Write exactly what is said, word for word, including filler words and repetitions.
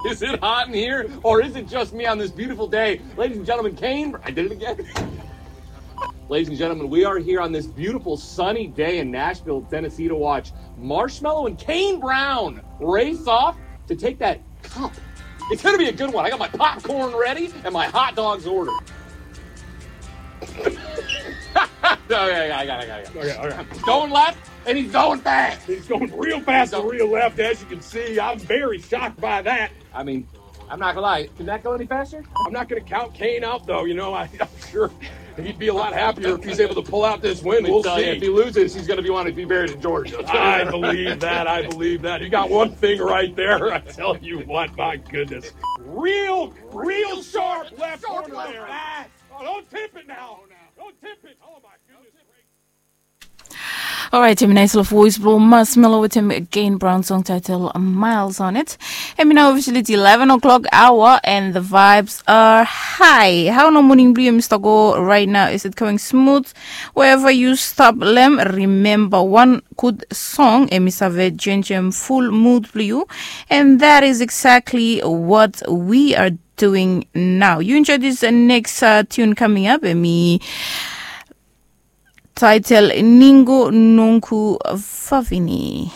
Is it hot in here, or is it just me on this beautiful day? Ladies and gentlemen, Kane, I did it again. Ladies and gentlemen, we are here on this beautiful sunny day in Nashville, Tennessee to watch Marshmello and Kane Brown race off to take that cup. It's going to be a good one. I got my popcorn ready and my hot dogs ordered. Okay, I got it, I got it. Okay, all right. Going left, and he's going fast. He's going real fast and real left, as you can see. I'm very shocked by that. I mean, I'm not gonna lie. Can that go any faster? I'm not gonna count Kane out, though. You know, I, I'm sure he'd be a lot happier if he's able to pull out this win. We'll see. If he loses, he's gonna be wanting to be buried in Georgia. I believe that. I believe that. You got one thing right there. I tell you what, my goodness. Real, real sharp left corner there. Oh, don't tip it now. Don't tip it. Oh my goodness. Alright, hemi nais long voice blong Marshmello wetem Kane Brown, song title Miles on it. Hemi nao officially eleven o'clock hour and the vibes are high. Hao nao moning blong yu hemi stap go right now? Is it going smooth? Wherever you stop lem, remember one good song hemi save jenjem full mood blong yu, and that is exactly what we are doing now. You enjoy this uh, next uh, tune coming up, hemi title Ningo Nonku Favini.